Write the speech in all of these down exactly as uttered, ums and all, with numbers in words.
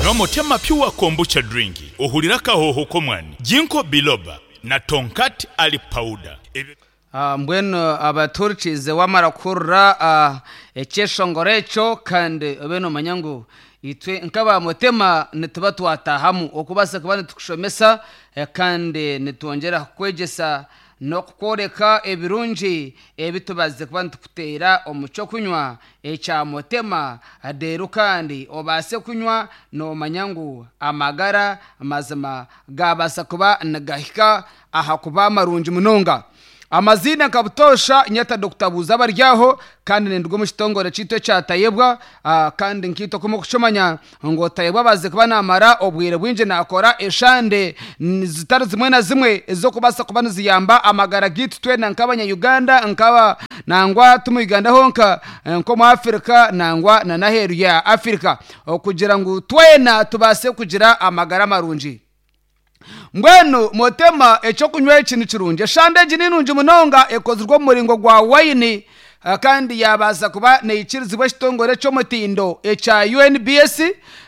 Nywa Motema Pure Kombucha Drink ohurire akahooho k'omwani, Ginkgo Biloba na Tongkat Ali Powder. Ebyo. Mbwenu abatuhurikiize waamara kuhurira ekyeshongoro ekyo kandi obe noomanya ngu itwe nk'aba Mutema nituba twataahamu okubaasa kuba nitukushomesa kandi nitwongyera kukwegyesa n'okukworeka ebirungi ebi tubazize kuba nitukuteera omu ky'okunywa ekya Mutema reero kandi obaase kunywa noomanya ngu amagara mazima gaabaasa kuba nigahika aha kuba marungi munonga. Amaziina nka butoosha nyeta Dokita Buuza Baryaho kandi ninduga omu kitongore kyaitu ekya Tayebwa kandi nkaitwe oku murikukimanya ngu Tayebwa abaasize kuba naamara obwire bwingi naakora eshande zitari zimwe na zimwe ez'okubaasa kuba niziyamba amagara gaitu twena nk'abanya-Uganda nkaba nangwa ti mu Uganda honka nk'omu Africa nangwa n'aheeru ya Africa okugira ngu twena tubaase kugira amagara marungi. Mbwenu Mutema eky'okunywa eki ni kirungi. Eshande egi ni nungi munonga ekozirwe omu muringo gwa wayini kandi yaabaasa kuba neikirizibwa ekitongore ky'omutindo ekya U N B S.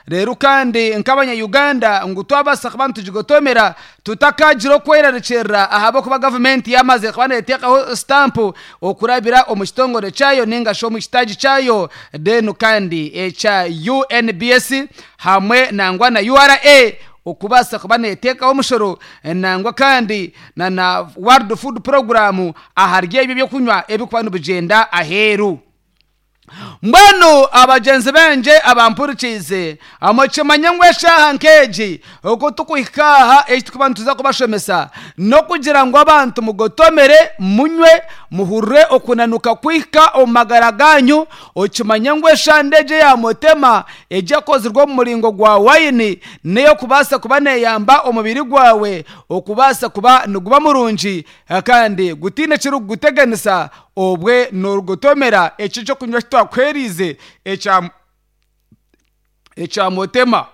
Reero kandi nk'abanya-Uganda ngu twabaasa kuba nitugigotomera tutakagira okwerarikirira ahabw'okuba gavumenti yaamaze kuba neeteekaho sitampu okurabira omu kitongore kyayo ninga shi omu kitaagi kyayo then kandi ekya U N B S hamwe nangwa na U R A okubaasa kuba neeteekaho omushoro nangwa kandi na na World Food Program ahari ebyo ebyokunywa ebirikuba nibigyenda aheeru. Mbwenu abagyenzi bangye abampurikiize, mukimanye ngu eshaaha nk'egi oku turikuhika aha eki turikuba nituza kubashomesa n'okugira ngu abantu mugotomere, munywe, muhurire okunanuka kwihika omu magara ganyu. Okimanye ngu eshande egi eya Mutema egi ekozirwe omu muringo gwa wayini n'ey'okubaasa kuba neeyamba omubiri gwawe okubaasa kuba niguba murungi kandi gutaine ekirikuguteganisa obwe noorugotomera eki ekyokunywa eki twakuheeriize ekya ekya Mutema.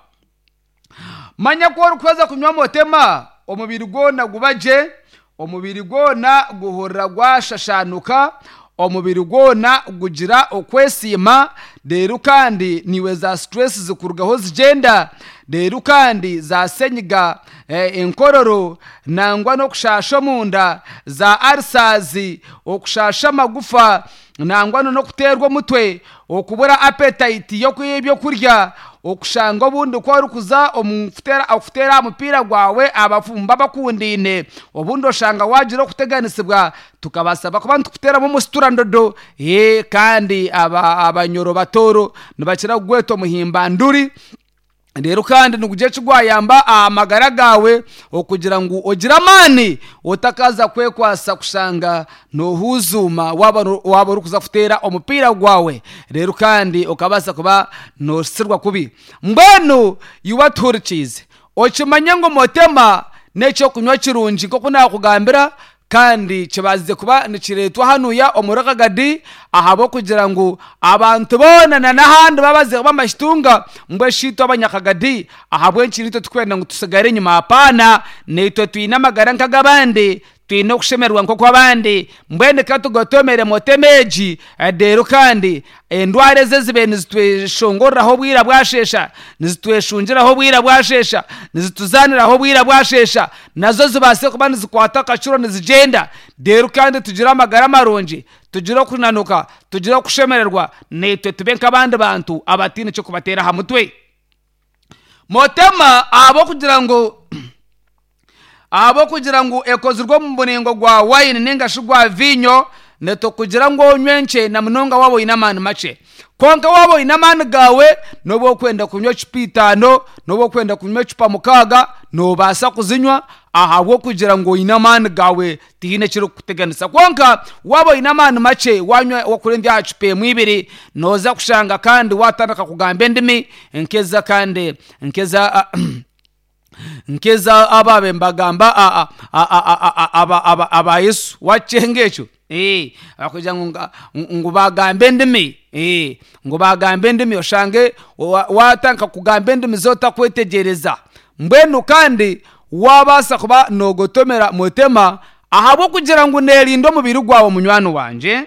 Manya ku orikuheza kunywa Mutema omubiri gwona guba gye, omubiri gwona guhurira gwashashaanuka, omubiri gwona gugira okwesiima, reero kandi naiwe za stress zikurugaho zigyenda, reero kandi za senyiga, enkororo nangwa n'okushaasha omunda, za ulcers, okushaasha amagufa nangwa n'okuteerwa omutwe, okubura appetite y'ebyokurya, okushanga obundi ku orikuza omu kuteera aha mupiira gwawe abafumu babakundaine, obundi oshanga waagira okuteganisibwa tukabaasa kuba nitukuteeramu omusiturandodo kandi abanyoro batooro nibakira kugweta omuhimbanduri. Reero kandi nigugira eki gwayamba aha magara gaawe okugira ngu ogire amaani otakaza kwekwasa kushanga noohuzuuma waaba waaba orikuza kuteera omupiira gwawe, reero kandi okabaasa kuba noosirwa kubi. Mbwenu iwe atuhurikiize okimanye ngu Mutema n'ekyokunywa kirungi nk'oku naakugambira kandi kibaasize kuba nikireetwa hanuya omuri Kagadi ahabw'okugira ngu abantu boona na n'ahandi babaziire bamakitunga. Mbwenu shi itwe abanyakagadi ahabw'enki itwe turikwenda ngu tusigare enyima? Apaana, naitwe twine amagara nk'ag'abandi, twine okushemererwa nk'okw'abandi. Mbwenu ka tugotomere Mutema egi, reero kandi endwara ezi ezibaire nizitweshongoreraho obwira bwasheesha, nizitweshungiraho obwira bwasheesha, nizituzaaniraho obwira bwasheesha, nazo zibaase kuba nizikwata akacuro nizigyenda, reero kandi tugire amagara marungi, tugire okunanuka, tugire okushemererwa, naitwe tube nk'abandi bantu abataine ky'okubateera aha mutwe. Mutema ahabw'okugira ngu ahabw'okugira ngu ekozirwe omu muringo gwa wayini ninga shi gwa viinyo, nitukugira ngu onywe nkye na munonga waaba oine amaani makye. Kwonka waaba oine amaani gaawe n'obu orikwenda kunywa ecupa itaano, n'obu orikwenda kunywa ecupa mukaaga, noobaasa kuzinywa ahabw'okugira ngu oine amaani gaawe tihaine ekirikukuteganisa. Kwonka waaba oine amaani makye wanywa okurenzya aha cupa emwe ibiri, nooza kushanga kandi waatandika kugamba endimi nk'eza kandi nk'eza nk'eza ababaire nibagamba aba Yesu waakyenga ekyo kugira ngu bagambe endimi, ngu bagambe endimi oshange waatandika kugamba endimi z'otakwetegyereza. Mbwenu kandi waabaasa kuba noogotomera Mutema ahabw'okugira ngu neerinda omubiri gwawe munywani wangye,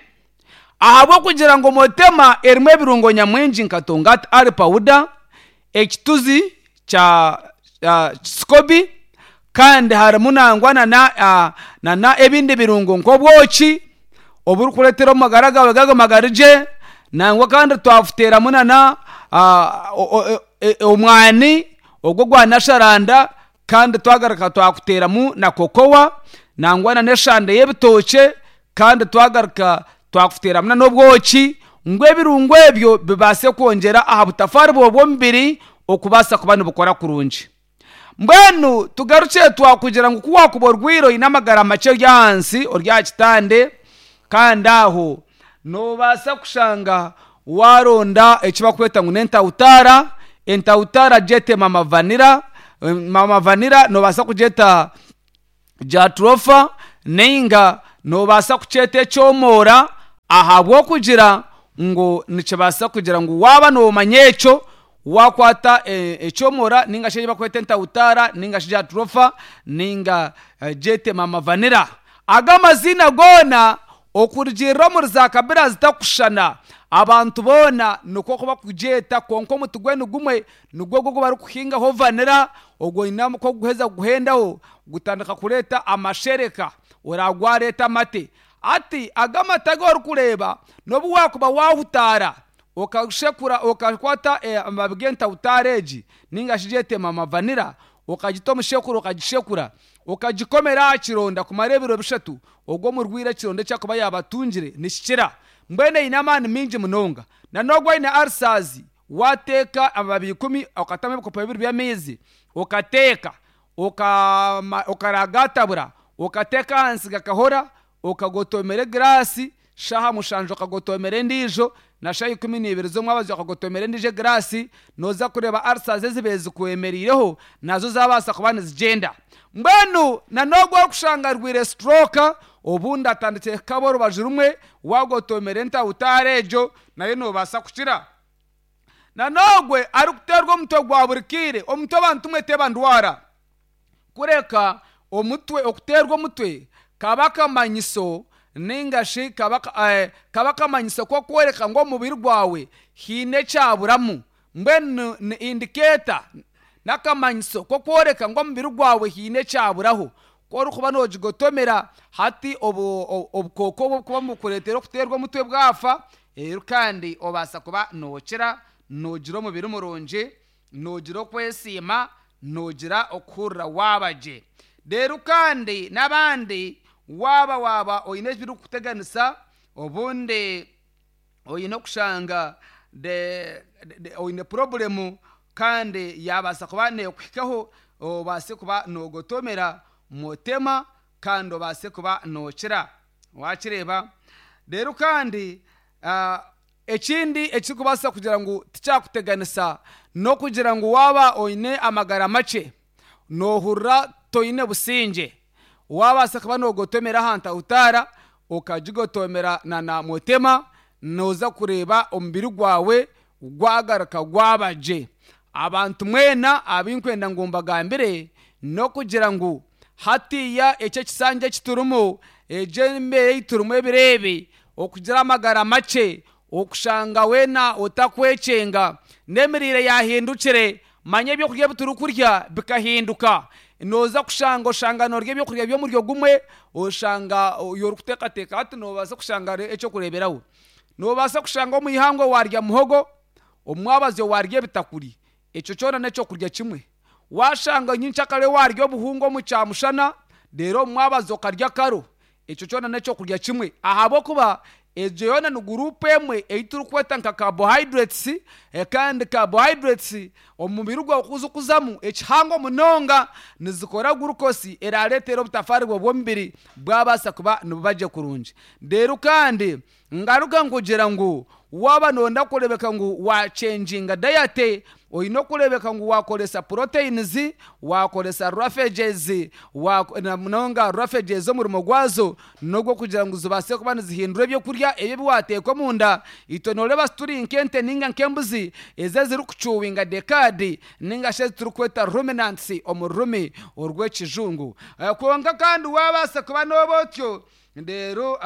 ahabw'okugira ngu Mutema erimu ebirungo nyamwingi nka Tongkat Ali Powder, ekituzi kya uh, sikobi, kandi harimu nangwa nana uh, nana ebindi birungo nk'obwoki oburikureetera omagara gawe gago gye. Nangwa kandi twafuteramu nana uh, omwani ogwo gwanasharanda, kandi twagaruka twakuteramu na kokowa, nangwa na n'eshande y'ebitookye, kandi twagaruka twakuteramu n'obwoki, ngu ebirungo ebyo bibaase kwongyera aha butafaari bw'omubiri okubaasa kuba nibukora kurungi. Mbwenu tugarukye twakugira ngu kuwakuba orwire oine amagara makye ori ahansi ori aha kitande, kandi aho noobaasa kushanga waronda eki bakweta ngu n'entawutaara. Entawutaara gyete mama vanira, mama vanira noobaasa kugyeta jatropha, ninga noobaasa kukyeta ekyomoora, ahabw'okugira ngu nikibaasa kugira ngu waaba noomanya ekyo wakwata ekyomora, ninga shi bakweta entawutaara, ninga shi jatropha, ninga gyete mama vanira. Aga amazina goona okurugirira omuri za kabira zitakushushana, abantu boona nikwo bakugyeta, kwonka omuti gwe nigumwe, nigwo ogu barikuhingaho vanira. Ogwo oine kuguheza kuguhendaho gutandika kureeta amashereka, oragwareeta amate. Ati aga amate agu orikureeba, n'obu wakuba wahutaara okashekura, okakwata amababi g'entawutaara egi ninga shi gyete mama vanira, okagita omushekuro, okagishekura, okagikomera aha kironda kumara ebiro bishatu, ogwo omurwaire ekironda ekyakuba yabatungire nikikira. Mbwenu eine amaani mingi munonga. Na n'ogwo aine ulcers, wateeka amababi ikumi, okatamu ebikopo bibiri by'amaizi, okateeka, okaragatabura, okateeka ahansi gakahora, okagotomera egiraasi shaaha mushanju, okagotomera endiijo na shaaha ikumi n'ibiri z'omwabazyo, okagotomera endiijo egiraasi, nooza kureeba ulcers ezibaire zikwemeriireho nazo zabaasa kuba nizigyenda. Mbwenu na n'ogwo orikushanga arwaire stroke, obundi atandikire kukaba orubaju rumwe, wagotomera entawutaara egyo nayo noobaasa kukira. Na n'ogwe arikuteerwa omutwe gwa buri kiire, omutwe abantu mwe teba ndwara, kureka omutwe okuteerwa omutwe kaba akamanyiso, ninga shi kaba kaba akamanyiso k'okworeka ngu omubiri gwawe haine ekyaburamu. Mbwenu ni indicator, n'akamanyiso k'okworeka ngu omubiri gwawe haine ekyaburaho. Ku orikuba noogigotomera hati, obukooko oburikuba nibukureetera okuteerwa omutwe bwafa, reero kandi obaasa kuba nookira, noogira omubiri murungi, noogira okwesiima, noogira okuhurira waaba gye. Reero kandi n'abandi, waaba waaba oine ebirikukuteganisa, obundi oine okushanga oine problem kandi yabaasa kuba neekuhikaho, obaase kuba noogotomera mutema kandi obaase kuba nookira, wakireeba. Reero kandi ekindi ekirikubaasa kugira ngu tikyakuteganisa n'okugira ngu waaba oine amagara makye, noohurira toine busingye, wabaasa kuba noogotomera aha ntawutaara, okagigotomera na na mutema, nooza kureeba omubiri gwawe gwagaruka gwaba gye. Abantu mwena abinkwenda ngu mbagambire n'okugira ngu hatiya eki ekisanja ekiturimu, egyo embeera ei turimu ebiro ebi, okugira amagara makye, okushanga weena otakwekyenga, n'emiriire yahindukire. Manya ebyokurya ebi turikurya bikahinduka. Nooza kushanga oshanga noorya ebyokurya by'omuryo gumwe, oshanga orikuteekateeka hati noobaasa kushanga ekyokureeberaho, noobaasa kushanga omu ihangwe warya muhogo, omwabazyo warya ebitakuri, ekyo kyona n'ekyokurya kimwe. Washanga nyenkyakare warya obuhunga omu kyamushana, reero omu mwabazyo okarya karo, ekyo kyona n'ekyokurya kimwe, ahabw'okuba egyo yoona ni group emwe ei turikweta nka carbohydrates. Kandi carbohydrates omubiri gwawe kuzikuzamu ekihango munonga, nizikora glucose erareetera obutafaari bwawe bw'omubiri bwabaasa kuba nibuba gye kurungi. Reero kandi ngaruka nkugira ngu waaba nooyenda kureebeka ngu wachenjinga diet, oine okureebeka ngu wakoresa proteins, wakoresa roughages, na munonga roughages omurimo gwazo n'ogw'okugira ngu zibaase kuba nizihindura ebyokurya ebi ebi wateeka omunda. Itwe nooreeba turi nk'ente ninga nk'embuzi ezi ezirikuchewinga the cud, ninga shi ezi turikweta ruminants omu rurimi orw'ekijungu. Kwonka kandi wabaasa kuba nooba otyo, reero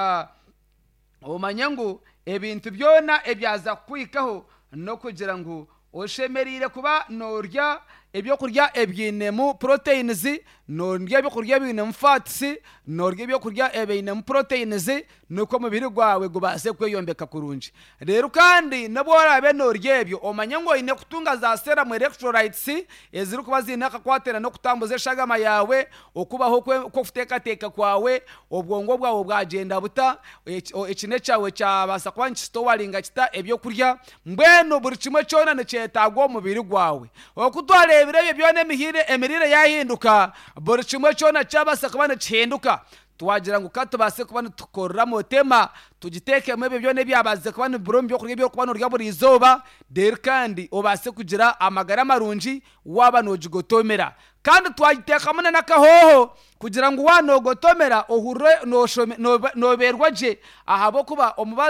omanye ngu ebintu byona ebyaza kukuhikaho n'okugira ngu Oshemereire kuba noorya ebyokurya ebyinemu proteins, noorya ebyokurya ebiinemu fats, noorya ebyokurya ebiinemu proteins, nikwo omubiri gwawe gubaase kweyombeka kurungi. Reero kandi nobu oraabe noorya ebyo, omanye ngu oine kutunga za serum electrolytes ezirikuba ziine akakwatira n'okutambuza eshagama yaawe, okubaho kw'okuteekateeka kwawe, obwongo bwawe bwagyenda buta, ekine kyawe kyabaasa kuba nikisitowaringa kita ebyokurya. Mbwenu buri kimwe kyona nikyetaagwa omubiri gwawe. Oku twareebire ebyo byona, emiriire yaahinduka, buri kimwe kyona kyabaasa kuba nikihinduka. Twagira ngu ka tubaase kuba nitukorera motema, tugiteekemu ebyo byona ebyabaasize kuba nibibura omu byokurya ebi orikuba noorya buri izooba, reero kandi obaase kugira amagara marungi waaba noogigotomera. Kandi twagiteekamu n'akahooho kugira ngu waaba noogotomera ohurire noobeerwa gye ahabw'okuba omubazi.